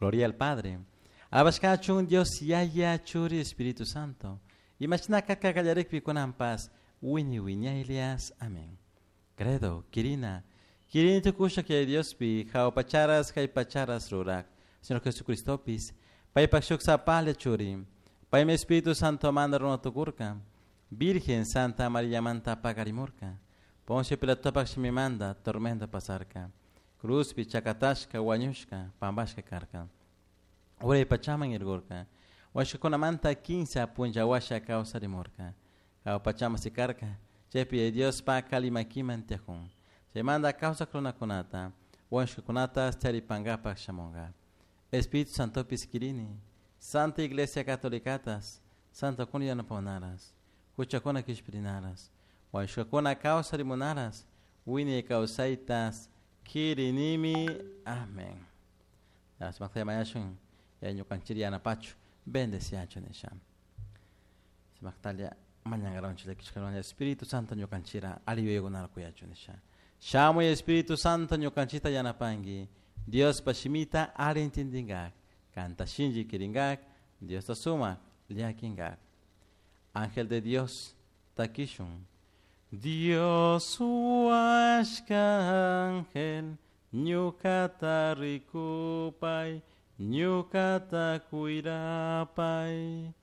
Gloria al Padre. Alabashkachun Dios Yaya Churi Espíritu Santo. Imashina kallarikpi kunanpas wiñay wiñaylias. Amén. Credo, Quirina. Quirini tukusha que Diospi, jao pacharas, jai pacharas rurak. Señor Jesucristopis, paypak shuk sapale churi. Paymi Espíritu Santo manda runa tukurka. Virgen Santa María manta pagarimurka. Poncio Pilatopak shimimanda tormenta pasarka. Cruzpi chakatashka wañushka pambashka karka. Uray pachaman irgurka. Washkakunamanta kinsa punlla washa kawsarimurka. Hawa pachaman sikarka. Chaypi Dios pa kalimakiman tiyakun. Chaymanta kawsak runakunata wañushkakunata charipankapak shamunka. Espíritu Santopis kirini. Santa Iglesia Catolicatas. Santa kuna yanapahunaras. Huchakuna kishpirinaras. Wañushkakuna kawsarimunaras. Wiñay kawsaytas kirinimi. Amén. Sumakta mañashun ya ñukanchik yanapachu bendeciachu nisha. Sumaktalia mañankaranchik llakishkawan Espíritu Santo ñukanchira alli yuyaykunata kuyachu nisha. Shamuy Espíritu Santo ñukanchikta yanapanki. Diospa shimita alli entendinkak. Kanta shinchi kirinkak. Diosta sumak llakinkak. Ángel de Dios, takishun. Dios huashka ángel, ñukata rikupay, ñukata cuirapay.